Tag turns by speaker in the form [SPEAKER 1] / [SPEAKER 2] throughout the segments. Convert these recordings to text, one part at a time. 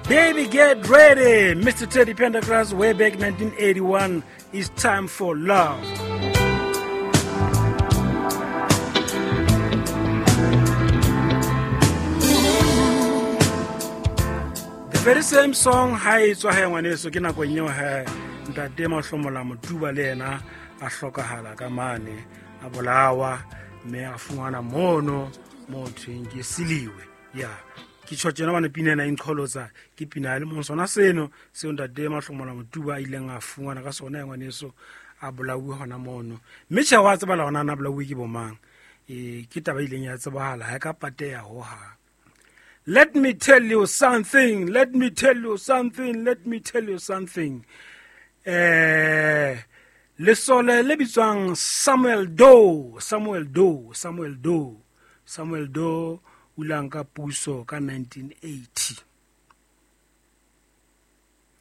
[SPEAKER 1] Baby, get ready. Mr. Teddy Pendergrass, way back 1981. It's time for love. The very same song ha e tswa he ngwaneso ke nakong eo he ntate Mahlomola Motuba le yena a hlokahala ka mane a bolawa mme a fumana mono mo thweng ke siliwe ya ke tjho tjena bane pina ena e nqholotsa ke pina ya lemong sona seno seo ntate Mahlomola Motuba a ileng a fumana ka sona ya ngwaneso a bolauwe hona mono mme tjhe wa tsebala hona na bolauwe ke bomang e ke taba e ileng ya tsebahala ha e ka pateha hohang. Let me tell you something, let me tell you something, let me tell you something. Lesole le bitswang Samuel Doe, Samuel Doe, Samuel Doe, Samuel Doe o ile a nka puso ka 1980.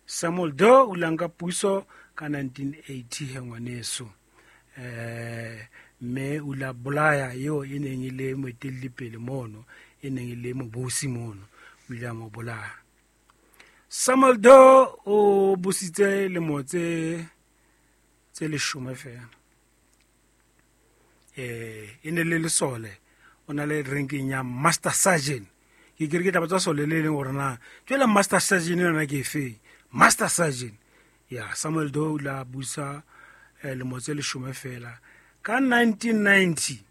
[SPEAKER 1] Samuel Doe o ile a nka puso ka 1980 he ngwaneso. Mme o ile a bolaya eo e neng e le moetelli pele mono, e neng e le mobusi mono, o ile a mo bolaya. Samuel Doe o busitse lemo tse leshome fela. E ne le lesole, o na le ranking ya Master Sergeant. Ke kere ke taba tsa sole le leng hore na jwale Master Sergeant yona ke efe? Master Sergeant. Ya Samuel Doe o ile a busa lemo tse leshome fela. Ka 1990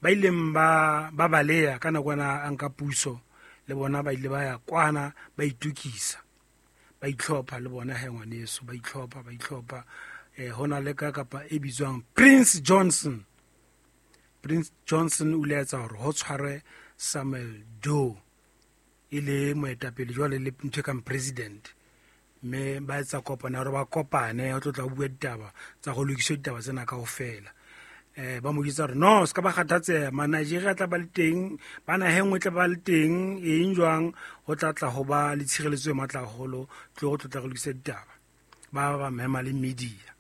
[SPEAKER 1] ba ileng ba baleha ka nakwana a nka puso le bona ba ile ba ya kwana ba itukisa ba itlhopha le bona he ngwaneso ba itlhopha hona le ka kapa e bitswang Prince Johnson. Prince Johnson o ile a etsa hore ho tshwarwe Samuel Doe e le moetapele jwale le ntho e kang president, mme ba etsa kopano ya hore ba kopane ho tlo tla bua ditaba tsa go lokiswa ditaba tsena kaofela. Ba mo jwetsa hore no se ka ba kgathatseha, ma Nigeria tla ba le teng, ba naha e nngwe tla ba le teng, eng jwang ho tla tla ho ba le tshireletso e matla haholo, tlo go tlo tla go lokisa ditaba. Ba mema le media.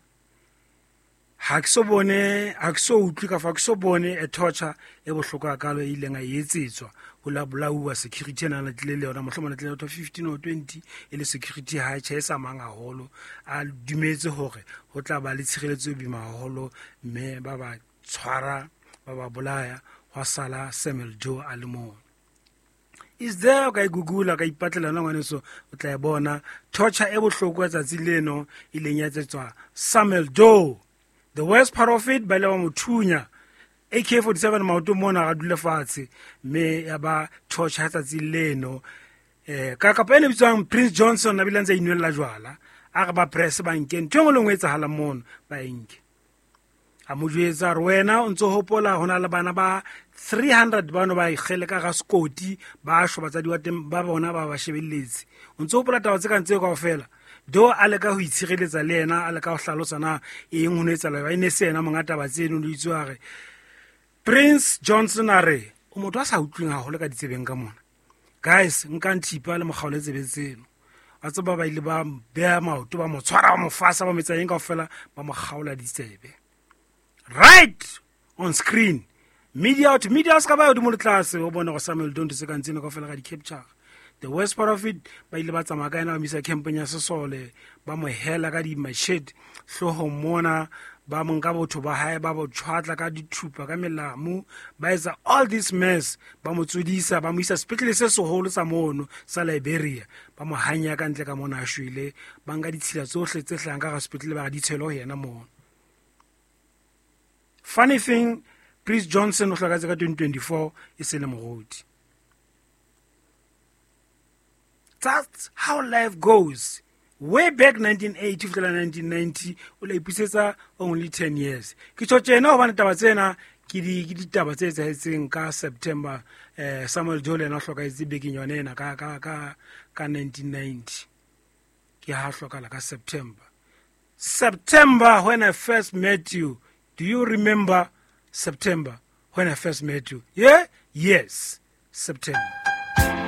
[SPEAKER 1] Ha ke so bone, ha ke so utlwe ka fa ke so bone e torture e bohloko hakalo e ileng a etsetswa ho la bolauwa security ena le tlile le yona mohlomong le tlile 15 or 20 e le security ha e tjhe e sa mang haholo, a dumetse hore ho tla ba le tshireletso e boima haholo, mme ba ba tshwara ba ba bolaya hwa sala Samuel Doe a le mong. Is there ka Google ka ipatlela yona ngwaneso o tla e bona torture e bohloko ya tsatsi leno e leng ya etsetswa Samuel Doe. The worst part of it, ba ile ba mo thunya AK-47 maoto mona a dule fatshe, mme ya ba torture ya tsatsi leno. Ka kapa ene bitswang Prince Johnson a bile a ntse a inwella jwala, a re ba press ba nke ntho e nngwe le nngwe e etsahalang mono ba e nke. A mo jwetsa hore wena o ntso hopola ho na le bana ba 300 bano ba ikgele ka ga sekoti, ba shwa batsadi ba teng ba bona ba ba shebelletse. O ntso hopola taba tse kang tseo kaofela. Do a leka ho itshireletsa le yena, a leka ho hlalosa na eng ho no etsahala, ba e ne se yena monga taba tseno, le itse hore Prince Johnson a re o motho a sa utlweng haholo ka ditsebeng ka mona. Guys, nkang thipa le mo kgaole tsebe tseno. Wa tseba ba ile ba beha maoto, ba mo tshwara, ba mo fasa, ba mo etsa eng kaofela, ba mo kgaola ditsebe. Right on screen. Media out, media se ka ba hodimo le tlase, o bone gore Samuel Doe ntho tse kang tseno kaofela ka di-capture. The worst part of it, ba ile ba tsamaya ka ena ba mo isa campong ya sesole, ba mo hela ka di-machete hloohong mona, ba mo nka botho ba hae, ba bo tshwatla ka dithupa, ka melamu, ba etsa all this mess, ba mo tsodisa, ba mo isa sepetlele se seholo sa mono sa Liberia, ba mo hanya ka ntle ka mona a shwele, ba nka ditshila tsohle tse hlahang ka hara sepetlele ba re di tshele ho yena mono. Funny thing, Prince Johnson o hlokahetse ka 2024 e se le moruti. That's how life goes. Way back 1980 fihlela 1990, o la ipusetsa only 10 years. Ke tjho tjena hobane taba tsena ke ditaba tse etsahetseng ka September. Samuel Doe le yena o hlokahetse bekeng yona ena ka 1990. Ke ha hlokahala ka September. September when I first met you. Do you remember September when I first met you? Yeah? Yes, September.